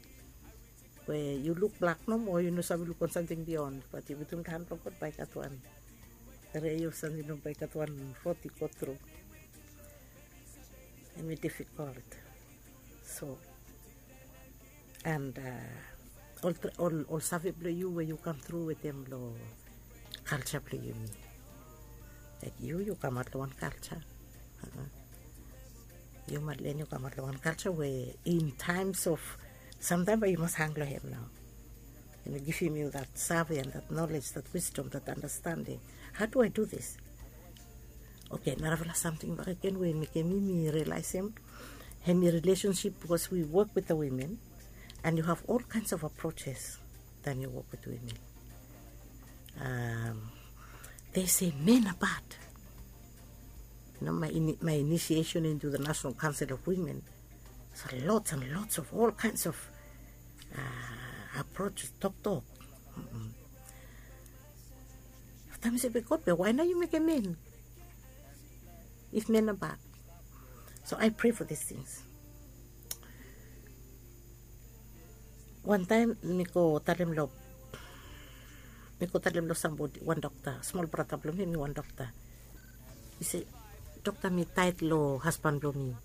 we yu luk blak nomo, yu no save luk wan samting bion, bat yu putum long han blong God bae i gat wan rei of samting nomo, bae i gat wan rot i go tru. Hemi difikol. So and ol save blong yu we yu kam tru wetem long kalja blong yumi. Laik yu yu kamaot long wan kalja. Yu Madlen yu kamaot long wan kalja we in times of samtaem bae yu mas hang long hem nao. Hemi givim yu that save and that knowledge, that wisdom, that understanding. How do I do this? Oke, narafala samting bakegen we i mekem mi mi rialaesem, hemi relationship, because we work with the women and you have all kinds of approaches taem yu work with women. They say men apart. You know, my, ini- my initiation into the National Council of Women, so lots and lots of all kinds of uh, approaches, toktok. Afta mi se, be God, be wae nao yu mekem men if men are bad? So I pray for these things. Wantaem mi go talem long mi go talem long sambodi, wan dokta, smol brata blong mi, mi wan dokta. Mi se, dokta, mi taet long hasban blong mi.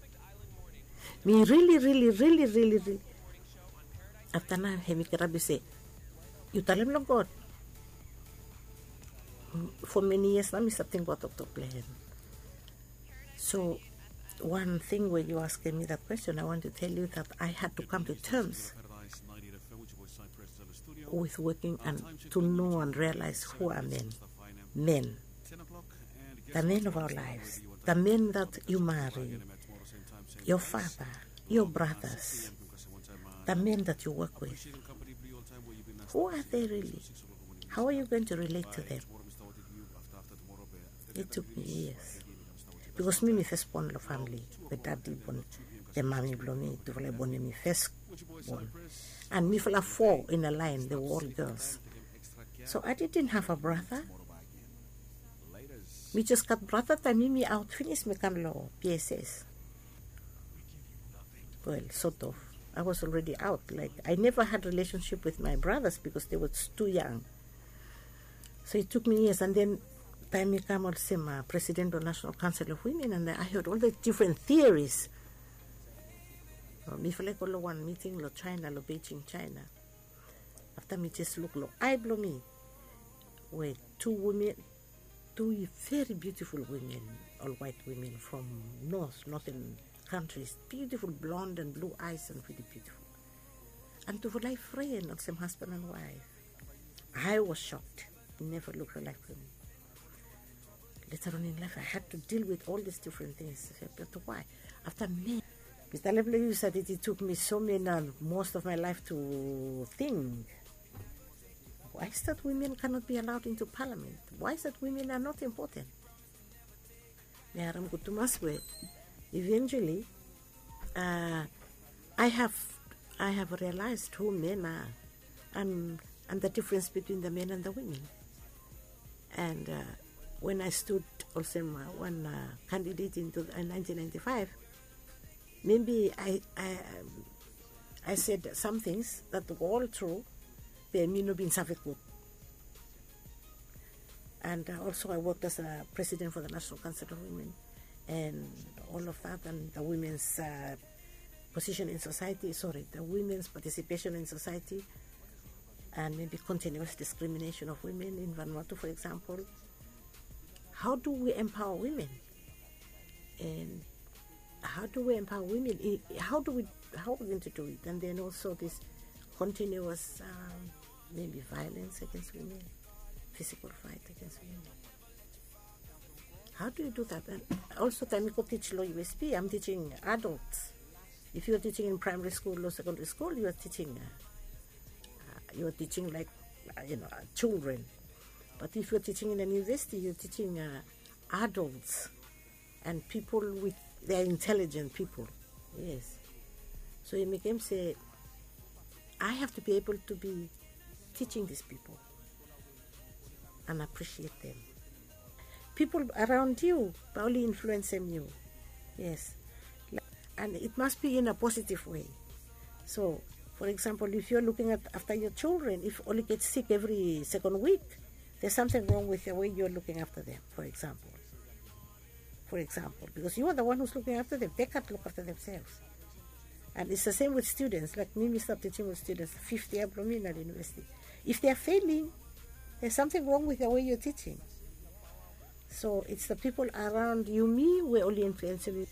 Mi rili rili rili rili rili. Afta nao hemi kirap i se, yu talem long God? Fo meni yias nao mi stap tingbaot toktok blong hem. So wan ting we yu askem mi that question, I want to tell you that I had to come to terms with working and to know and realize who are men. Men, the men of our lives, the men that you marry, your father, your brothers, the men that you work with. Who are they really? How are you going to relate to them? It took me years. Bikos mi mi fesbon long famili, we dadi i bon, we mami blong mi tufala i bonem mi fesbon. And mifala fo in a line, they were all girls. So I didn't have a brother. Mi jes gat brata taem mi mi aot finis, mi kam long P S S. Well, sort of. I was already out. Like, I never had relationship with my brothers because they were too young. So it took me years, and then taem mi kam olsem presiden blong National Council of Women, and I heard all the different theories. Mifala i go long wan miting long China, long Beijing, China. Afta mi jes luk long ae blong mi, we tu women, tu very beautiful women, ol waet women from north, northern countries, beautiful blonde and blue eyes and very beautiful. And tufala i fren olsem hasban and waef. I was shocked. Never look like them. Later on in life, I had to deal with all these different things. But why? Afta mi, mi talem long yu, save, it took me so many, most of my life to think, why is that women cannot be allowed into parliament? Why is that women are not important? Mi harem gud tumas we eventually, uh, I have, I have realized who men are and, and the difference between the men and the women. And uh, when I stood olsem uh, wan uh, candidate in nineteen ninety-five, maybe I, I, I said some things that were all true, be mi no bin save gud. And uh, also I worked as a president for the National Council of Women and all of that, and the women's uh, position in society, sorry, the women's participation in society, and maybe continuous discrimination of women in Vanuatu, for example. How do we empower women? And how do we empower women? I- How do we how are we going to do it? And then also this continuous um, maybe violence against women, physical fight against women. How do you do that? And also, taem mi go teach lo U S P, I'm teaching adults. If you're teaching in primary school or secondary school, you are teaching, uh, uh, you are teaching like, uh, you know, uh, children. But if you're teaching in an university, you're teaching uh, adults and people with, they're intelligent people. Yes. So i mekem se I have to be able to be teaching these people and appreciate them. People around you bae oli influensem yu. Yes. And it must be in a positive way. So, for example, if you're looking at after your children, if oli get sick every second week, there's something wrong with the way you're looking after them, for example. For example, because you are the one who's looking after them, they can't look after themselves. And it's the same with students. Like mi mi stap teaching with students, fifth year blo mi na university. If they are failing, there's something wrong with the way you're teaching. So it's the people around you, me, we oli influensem yu.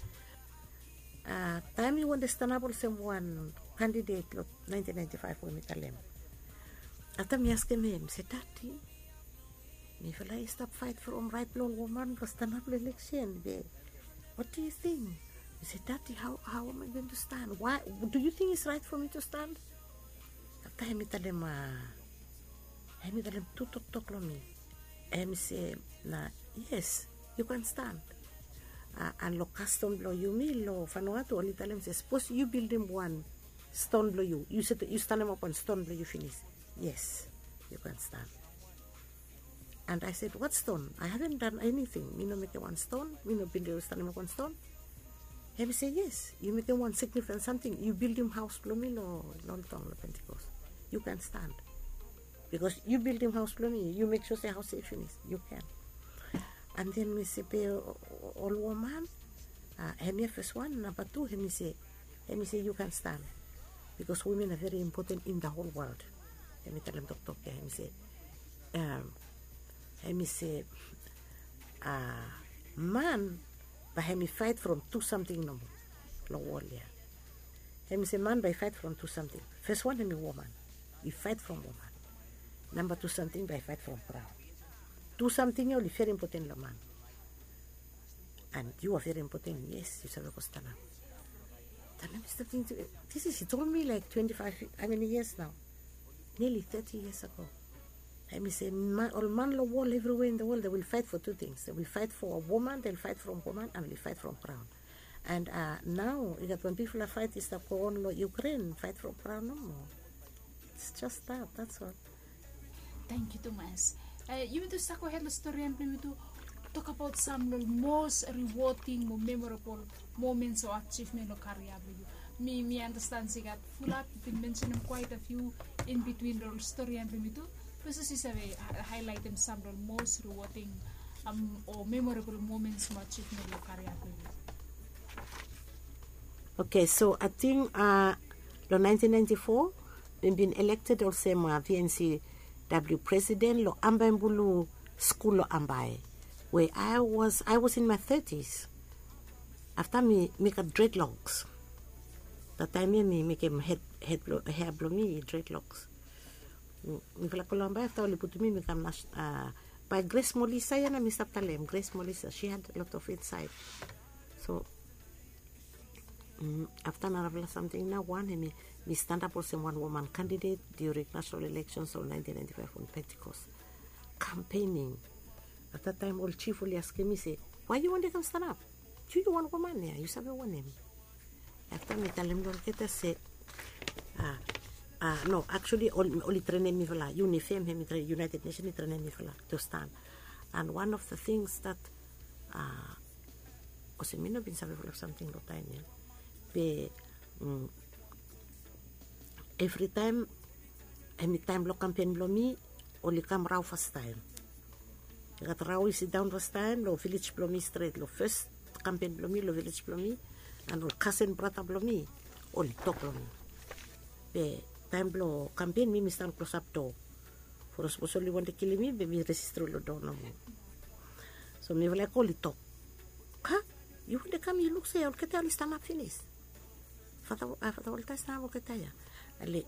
Uh, taem yu wantem stanap olsem wan kandidet lo nineteen ninety-five we mi talem. Afta mi askem em, se, "Dadi, mifala i stap fait from rait blo ol woman blo stanap lo eleksen, be what do you think?" Mi se, "Dadi, how, how am I going to stand? Why, do you think it's right for me to stand?" Afta em i talem, uh, em i talem tu toktok lo mi. Em i se, "Na, yes, yu can stand." Uh, and lo kastom blo yumi lo Vanuatu oli talem se, "Sapos yu bildim wan ston blo yu, yu se yu stanemap wan ston blo yu finis, yes, yu can stand." And I said, "What stone? I haven't done anything. Mi no mekem wan ston, mi no bin stanemap wan ston." Em i se, "Yes, yu mekem wan significant samting. Yu bildim haos blo mi lo, lo tong lo Pentecost. Yu can stand. Because yu bildim haos blo mi, yu mek sua se haos ya i finis. Yu can." And then mi se, "Be ol woman?" Uh, em ya fes wan, namba tu, em i se, em i se, "You can stand. Because women are very important in the whole world." Em i talem toktok ya, em i se, um, em i se, uh, man bae em i fait from tu samting nomo lo wol ya. Em i se man bae i fait from tu samting. Fes wan em i woman. I fait from woman. Namba tu samting bae i fait from graon. Tu samting ya oli very important lo man. And you are very important, yes, yu save go stanap. Then mi stap ting, this is, he told me like twenty-five, how many years now? Nearly thirty years ago. Em i se, ol man lo wol, everywhere in the world, they will fight for two things. They will fight for a woman, they'll fight from woman, and will fight from crown. And uh, nao i gat wan bigfala fait i stap go on lo Ukraine, fight from crown nomo. It's just that, that's all. Thank you Thomas. Uh, yumi tu sako hed lo storian blo yumi tu, tokabaot sam lo most rewarding mo memorable moments o achievement lo karia blo yu. Mi mi understand se i gat fulap, yu bin mentionem quite a few in between lo storian blo yumi tu. Be sapos yu save highlightem sam lo most rewarding um, o memorable moments mo achievement lo karia blo yu. Okay, so ating uh, lo nineteen ninety-four mi bin elected olsem uh, V N C W president lo Ambae Bulu School lo Ambae, where I was, I was in my thirties. Afta mi, mi gat dreadlocks. That time ya mi mekem hed, hed blo, hea blo mi dreadlocks. Mi, mifala go lo Ambae, afta oli putum mi, mi kam nas, uh, bae Grace Molisa ya nao mi stap talem, Grace Molisa, she had a lot of insight. So Mm, afta narafala samting nao, wan hemi, mi stanap olsem wan woman kandidet during national elections lo nineteen ninety-five on Pentecost. Campaigning. Afta taem ol chief oli askem mi se, "Why yu wantem kam stanap? Yu yu wan woman ya, yu save wanem?" Afta mi talem lo olgeta se, ah, ah, no, actually, oli trenem mifala, UNIFEM hemi trenem, United Nations i trenem mifala to stan. And one of the things that, ah, olsem mi no bin save fulap samting lo taem ya. Be, mm, evritaem, hemi taem blo kampen blo mi, oli kam rao fastaem. I gat rao i sidaon fastaem lo vilej blo mi stret, lo fes kampen blo mi lo vilej blo mi, and ol kasen brata blo mi oli tok lo mi. Be taem blo kampen mi, mi stan klosap doa. From sapos oli wantem kilim mi, be mi resist tru lo doa nomo. So mifala i go, oli tok, "Ka, Yu wantem kam yu luk se olgeta oli stanap finis. Fata Walta i stanap olgeta ya.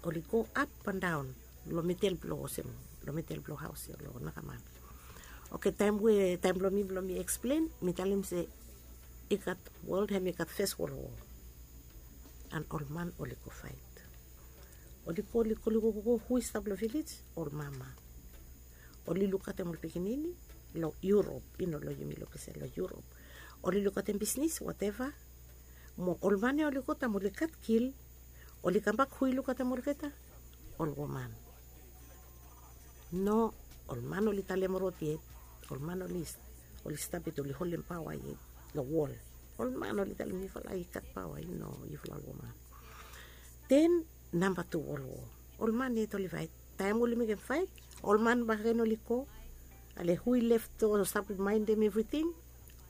Oli go ap and daon long midel blong olsem, long midel blong haos ya long nakamal. Oke, taem we taem blong mi blong mi eksplen, mi talem se i gat wol, hem i gat fes wol wo. And ol man oli go faet. Oli go, oli go, oli go, go, go, hu i stap long vilej? Ol mama. Oli lukaotem ol pikinini long Yurop, i no long yumi, long ples ya long Yurop. Oli lukaotem bisnis, wateva. Mo ol man ya oli go taem oli gat kil, oli kambak, hu i lukaotem olgeta? Ol woman. No, ol man oli talem rod yet. Ol man oli, oli stap yet, oli holem paoa yet long wol. Ol man oli talem yufala i gat paoa, i no yufala ol woman. Den namba tu wol wo. Ol man yet oli faet. Taem oli mekem faet, ol man bakegen oli go. Ale hu i lef tu stap maendem evriting?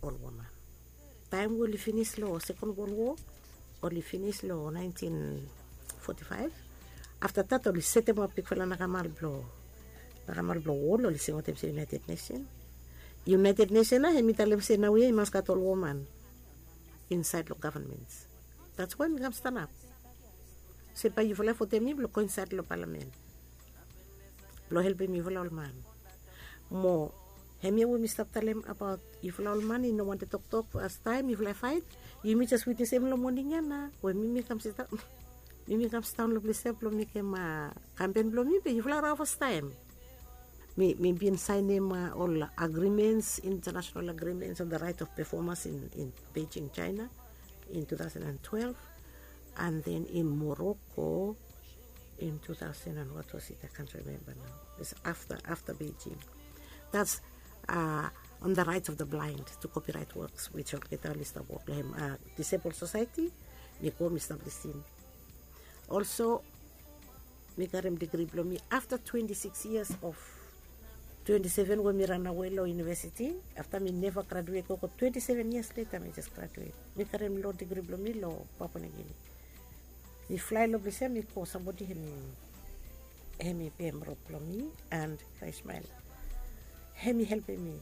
Ol woman. Taem we oli finis long sekon wol wo, oli finis long naentin foti faef. Afta dat oli setemap bigfala nakamal blong, nakamal blong wol, oli singaotem se United Nation. United Nation nao hem i talem se naoia i mas gat ol woman insaed long gavman. That's why mi kam stanap se bae yufala votem mi blong go insaed long palamen blong helpem yufala ol man. Mo hemia we mi stap talem abaot yufala ol man i no wantem toktok fastaem, yufala i faet. Yumi jes witnesem long moning ya nao we mi mi kam sidaon, mi mi kam sidaon long ples ya blong mekem kampen blong mi, be yufala rao fastaem. Mi, mi bin saenem ol agriments, international agriments on the right of performance in, in Beijing, China in two thousand and twelve, and then in Morocco in two thousand and what was it? I can't remember now. It's after, after Beijing. That's uh, on the rights of the blind to copyright works, which olgeta oli stap wok long hem, uh, Disabled Society. Mi go mi stap lisin. Also, mi karem digri blong mi afta twenti sikis yias of twenti seven we mi ranawe long univesiti. Afta mi neva graduet gogo, twenti seven yias leta mi jes graduet. Mi karem lo digri blong mi long Papua New Guinea. Mi flae long ples ya, mi go, sambodi hem i, hem i pem rod blong mi and Ismael, hem i helpem mi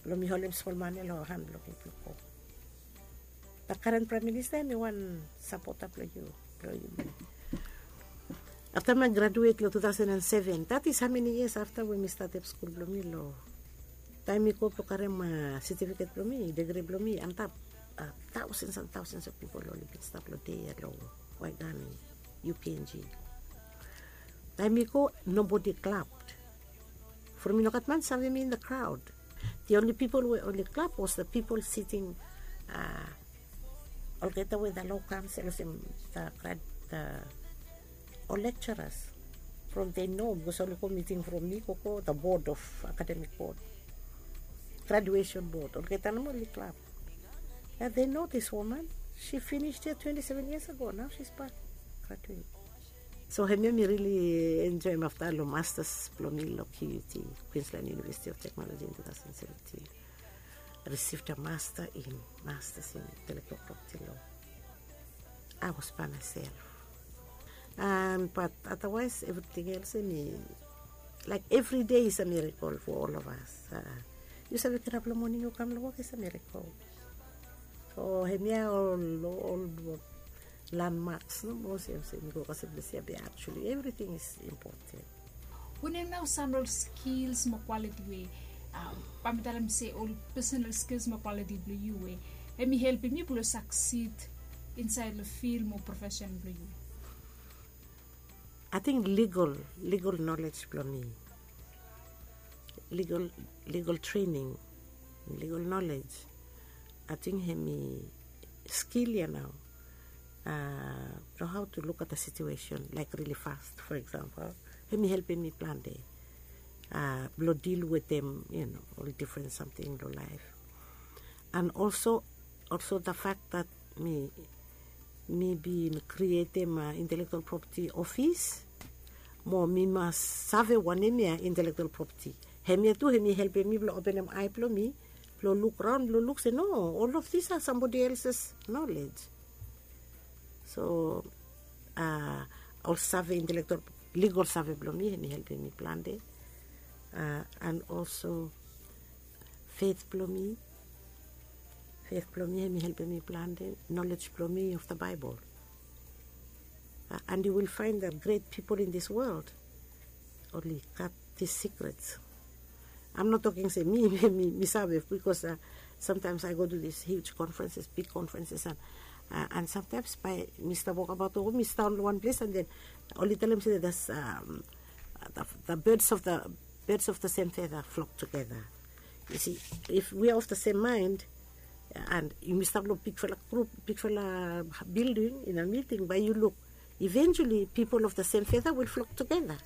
long mi holem smol mane long han blong mi blong go. Bat karen praem minista hem i wan sapota blong yu, blong yumi. Afta mi graduet long two thousand and seven, that is how many years afta we mi statem skul blong mi long taem mi go blong karem setifiket blong mi, digri blong mi, antap thousands and thousands of people oli bin stap long dei ya long Waigani, U P N G. Taem mi go, nobody clapped. From mi no gat man save mi in the crowd. The only people we oli clap was the people sitting, uh, olgeta we the locals, olsem the grad, the, ol lecturers. From they know, because oli go miting from mi gogo the board of academic board, graduation board. Olgeta nomo oli clap. And they know this woman. She finished here twenty-seven years ago. Now she's back graduate. So hemia mi rili enjoem afta long masters blong mi long Q U T, Queensland University of Technology, in two thousand seventeen. Received a master in, masters in intellectual property law. I was by myself. Um, but otherwise, everything else, hemi, like, every day is a miracle for all of us. Uh, yu save kirap long moning, yu kam long wok, is a miracle. So hemia ol, ol landmarks nomo olsem se mi go kasem ples ya, be actually everything is important. Wanem nao sam long ol skils mo kwaliti we, um, bae mi talem se ol personal skils mo kwaliti blong yu we hemi helpem yu blong succeed insaed long field mo profession blong yu? Ating legal, legal knowledge blong mi, legal, legal training, legal knowledge. Ating hemi skil ya nao, uh, long how to look at a situation, like, really fast, for example. Hemi helpem mi plante, uh, blong dil wetem, you know, ol difren samting long laef. And also, also the fact that mi, mi bin krietem intellectual property office, mo mi mas save wanem ya intellectual property. Hemia tu hemi helpem mi blong openem ae blong mi blong luk raon, blong luk se no, all of this are somebody else's knowledge. So, uh, ol save intellectual, legal save blong mi hemi helpem mi plante. Uh, and also faith blong mi, Fef blong mi hem i helpem mi plante, nolej blong mi of the Bible. And you will find that great people in this world oli gat this secrets. I'm not talking se mi mi mi save, because sometimes I go to these huge conferences, big conferences, and sometimes bae mi stap wokabaot o mi stap long wan ples, and then oli talem se the birds of the birds of the same feather flock together. You see, if we are of the same mind, and yumi stap long bigfala grup, bigfala building in a meeting, bae yu luk, eventually people of the same feather will flock together.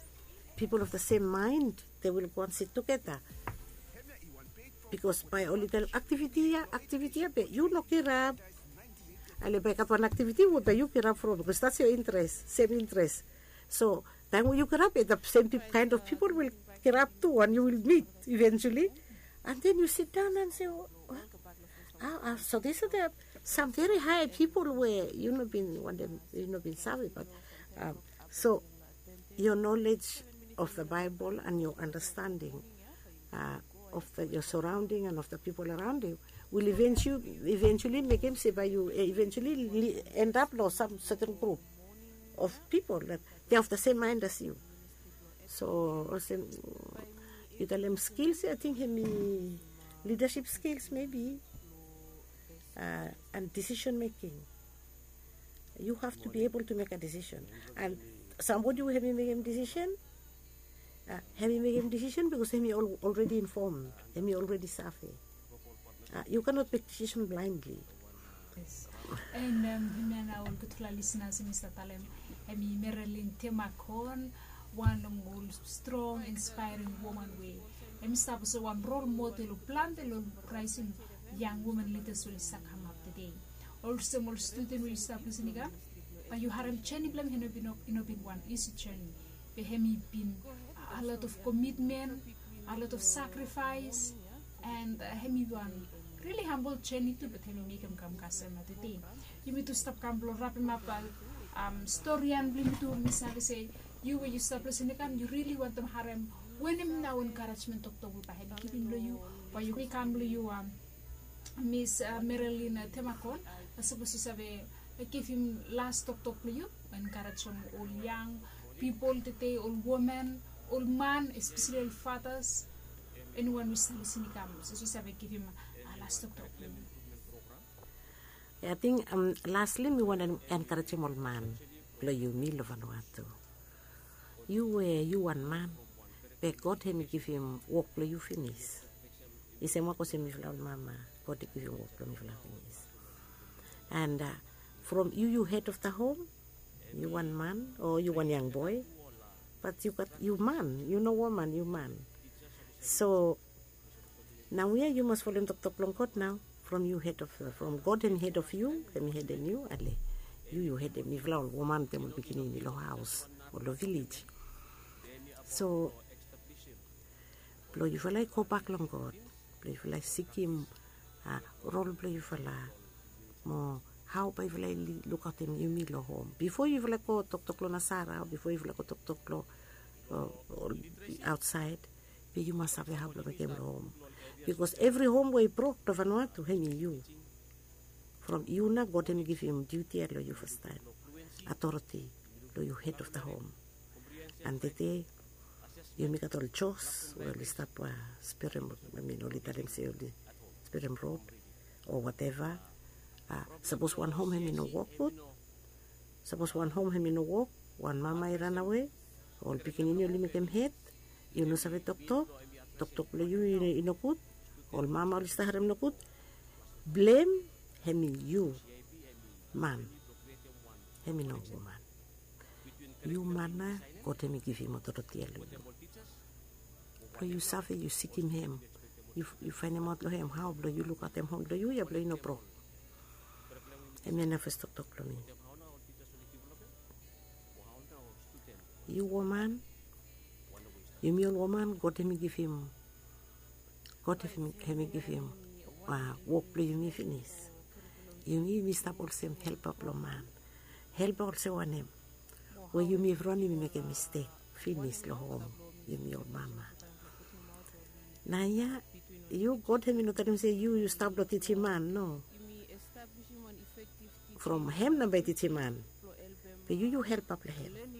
People of the same mind, they will go and sit together. Because bae oli talem aktiviti ya, aktiviti ya, be yu no kirap. Ale bae gat wan aktiviti we bae yu kirap from, because that's your interest, same interest. So taem we yu kirap, the same kind of people will kirap tu, and you will meet eventually. And then you sit down and say, oh, so these are the some very high people we yu no bin wantem, yu no bin save, but so your knowledge of the Bible and your understanding of the, your surrounding and of the people around you will eventually, eventually mekem se bae yu eventually end up long some certain group of people that they are of the same mind as you. So olsem yu talem skills ya, I think hemi leadership skills maybe, and decision making. You have to be able to make a decision. And somebody we hemi mekem decision, hemi mekem decision because hemi already informed, hemi already save. You cannot make decision blindly. Yes. And hemia nao olgeta listeners, hemi stap talem hemi Marilyn Temakon, wan long ol strong inspiring woman we hemi stap olsem wan role model o plante long rising young woman leaders oli stap kamap tede. Olsem ol studen we yu stap lisin i kam, bae yu harem jeni blong hem i no bin wan isi jeni. Be hemi bin a lot of commitment, a lot of sacrifice, and hemi wan really humble jeni tu, but hemi mekem kam kasem na tede. Yumi tu stap kam blong rapemap storian blong yumi tu. Mi save se yu we yu stap lisin i kam, yu really wantem harem wanem nao encouragement toktok we bae hemi givim long yu, bae yu kam long yu Miss Marilyn Temakon, sapos yu save givim las toktok blong yu, encouragem ol young people tede, ol woman, ol man, especially ol fathers, eniwan we stap lisin i kam, sapos yu save givim las toktok blong yu. I think lastly mi wantem encouragem ol man blong yumi long Vanuatu. Yu we yu wan man, be God hemi givim wok blong yu finis. I sem wok olsem mifala ol mama, God i givim wok blong mifala finis. And from yu, yu head of the home, yu wan man o yu wan young boy, but yu gat, yu man, yu no woman, yu man. So naoia yu mas folem toktok blong God nao. From yu head of, from God hemi head of yu, hemi hedem yu, ale yu yu hedem mifala ol woman wetem ol pikinini long haos o long vilej. So blong yufala i gobak long God, blong yufala i sikim rol blong yufala, mo hao bae yufala i lukaotem yumi long hom. Bifo yufala i go toktok long nasara o bifo yufala i go toktok long aotsaed, be yu mas save hao blong mekem long hom. Bikos evri hom we i brok long Vanuatu hemi yu. From yu nao God hemi givim diuti ya long yu fastaem, atoriti blong yu, hed of the hom. And tede yumi gat ol jos we oli stap sperem, I mean oli talem se oli sperem rod o wateva. Sapos wan hom hemi no wok gud, sapos wan hom hemi no wok, wan mama i ranawe, ol pikinini oli mekem het, yu no save toktok, toktok blong yu i nogud, ol mama oli stap harem nogud, blem hemi yu man, hemi no woman. Yu man nao God hemi givim otoriti ya long yu blong yu save, yu sikim hem, yu faenemaot long hem hao blong yu lukaotem hom blong yu ya blong i no brok. Hemia nao fes toktok blong mi. Yu woman, yumi ol woman, God hemi givim, God hemi givim wok blong yumi finis. Yumi yumi stap olsem helpa blong man. Helpa olsem wanem? We yumi evriwan yumi mekem mistek finis long hom, yumi ol mama. Naoia yu, God hemi no talem se yu yu stap blong tijim man, no. from hem nao bae i tijim man. Be yu yu helpap long hem.